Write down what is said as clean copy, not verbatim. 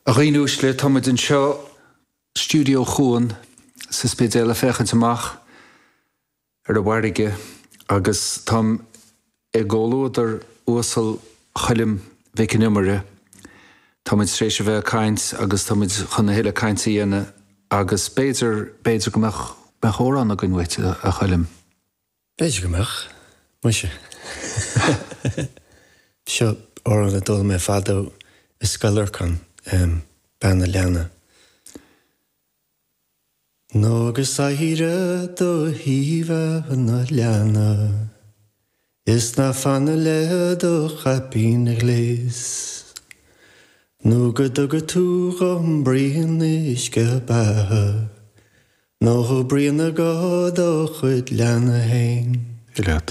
A dhaoine uaisle, tá muid anseo, Stiúideo Chuan sa Spidéal ag féachaint amach ar an bhfarraige agus táim i gcomhluadar uasal Choilm Mhic an Iomaire. Tá muid tar éis a bheith ag caint agus tá muid chun a thuilleadh cainte a dhéanamh agus b'fhéidir, b'fhéidir go mbeadh, mbeadh amhrán againn uait, a Choilm. B'fhéidir go mbeadh, muise. Seo amhrán a d'fhoghlaim mé fadó i Scoil Lorcáin, Bean a' Leanna. Nó go saoire do thaobh an leanna Is ná fanadh le do chaipín ghléas Nó go dtuga tú dhom braon uisce beatha Nó braon go do chuid leanna fhéin. Leat.